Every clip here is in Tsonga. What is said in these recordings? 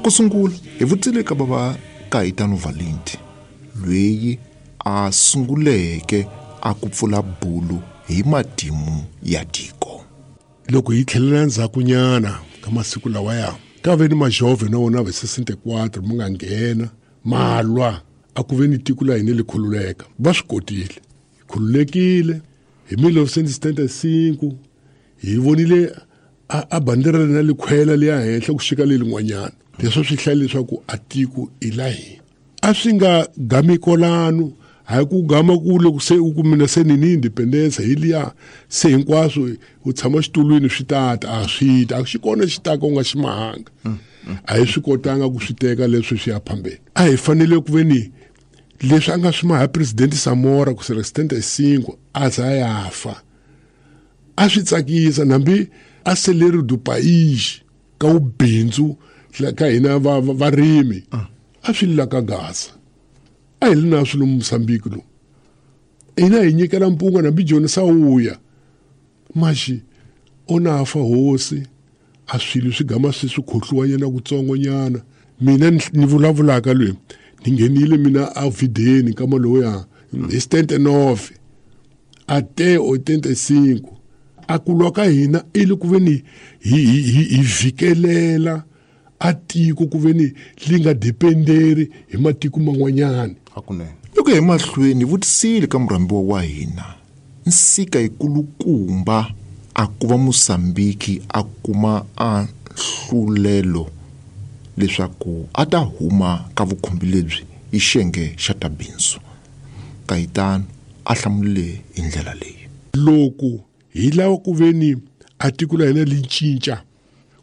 Ku sungula hi vutisile ka bava Kaitano Valenti loyi a sunguleke a ku pfula bulu hi matimu ya tiko. Loko hi tlhelela endzhakunyana ka masiku lawaya ka ve ni majove na wona va 64 ma nga nghena ma lwa a ku ve ni tiko la hina li khululeka. Va swi kotile, hi khululekile hi 1975 hi vonile a bandera na likhwela liya henhla ku xika le lin'wanyana. Leswo swi hlaya leswaku a tiko i la hina. A swi nga gami kolano, hayi ku gama ku loko se u ku mina se ni ni independence hi liya se hinkwaswo u tshama xitulwini swi tata a swi ta a xi kona xi taka u nga xi mahanga. A hi swi kotanga ku swi teka leswi swi ya phambeni. A hi fanele ku ve ni leswi a nga swi maha president Samora ku sera 75 a za ya fa. A swi tsakisa nambi a seleri du pays ka ubindzu ka hina varimi. A swi lila ka Gaza. A hi li na swilo Mozambique lo. Hina hi nyikela mpunga nambi Joni Sawuya. Maxi ona fa hosi a swilo swi gama swi swi khohliwa nyana kutsongonyana. Mina ni vulavulaka loyi ni nghenile mina a videni ka maloya hi 79 a te 85 a kulwa ka hina i le ku ve ni hi vhikelela a tiko ku ve ni li nga dependeri hi matiko man'wanyana. Hakunene. Loko hi mahlweni hi vutisile ka murhambiwa wa hina nsika yikulukumba a ku va Mozambique a kuma a nhlulelo leswaku a ta huma ka vukhumbi lebyi hi xiyenge xa ta bindzu. Kaitano a hlamulile hi ndlela leyi. Loko hi lava ku ve ni a tiko la hina li cinca,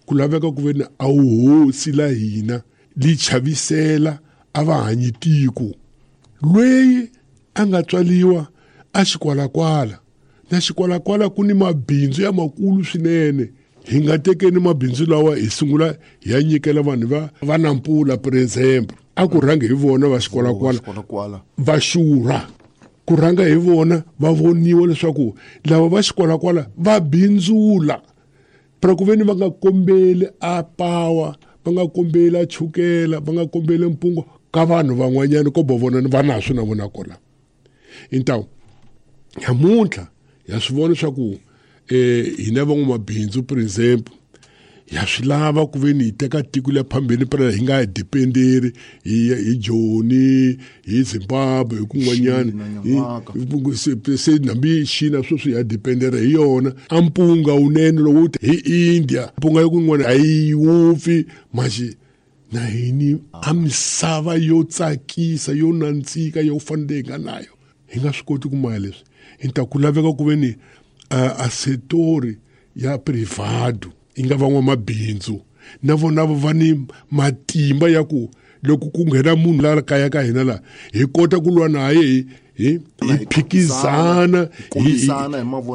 ku laveka ku ve ni a wuhosi la hina li chavisela a va hanyi tiko. Lweyi a nga tswaliwa a xikwalakwala, na xikwalakwala ku ni mabindzu ya makulu swinene. Hi nga tekeni mabindzu lawa hi sungula hi ya nyikela vanhu va Nampula, por exemple. A ku rhangi hi vona va xikwalakwala, va xurha. Ku rhanga hi vona va voniwa leswaku lava va xikwalakwala va bindzula. Pra ku ve ni va nga kombeli a pawa, va nga kombeli a chukela, va nga kombeli mpungo ka vanhu van'wanyana ko bo vona va na swi na vona kona. Então, namuntlha ya swi vona leswaku hina van'wamabindzu, por exemple, ya swi lava ku ve ni hi teka tiko le phambeni pra hi nga dependeri hi Joni, hi Zimbabwe, hi kun'wanyana. Se nambi China sweswi ya dependera hi yona. A mpunga wunene lowu hi India, mpunga ya kun'wana a yi wupfi, maxi na hini a misava yo tsakisa yo nandzika yo fanele hi nga nayo. Hi nga swi koti ku maya leswi. Hi ta ku laveka ku ve ni a setori ya privado yi nga van'wamabindzu na vona va ni matimba ya ku loko ku nghena munhu la kaya ka hina la hi kota ku lwa naye hi phikizana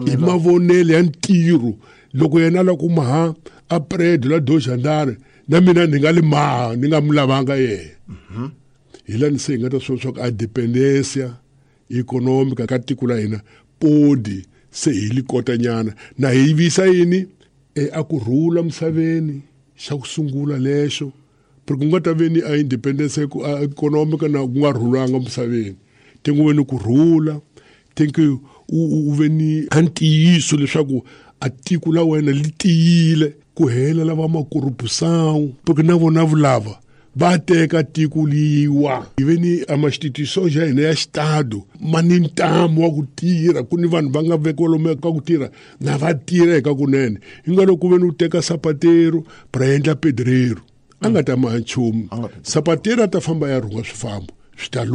hi mavonelo ya ntirho. Loko yena la ku maha a predo la doxandare na mina ni nga li maha ni nga mu lavanga yena. Hi la ni se hi nga ta swi swa ku a dependencia economica ka tiko la hina podi se hi li kotanyana na hi visa yini a ku rhula misaveni xa ku sungula lexo. Porque ku nga ta ve ni a independence economica na ku nga rhulanga misaveni. Te ku ve ni ku rhula, te ku u ve ni a ntiyiso leswaku a tiko la wena li tiyile ku hela lava makorupusão, porque na vona vulava va teka tiko liwa. Hi ve ni a ma-institution ya hina ya xitado ma ni ntamu wa ku tirha, ku ni vanhu va nga vekiwa lomu ka ku tirha na va tirha eka kunene. Hi nga loko ku ve ni u teka sapatero pra endla pedreiro, a nga ta maha nchumu. Sapatero a ta famba ya rhunga swifambo swi ta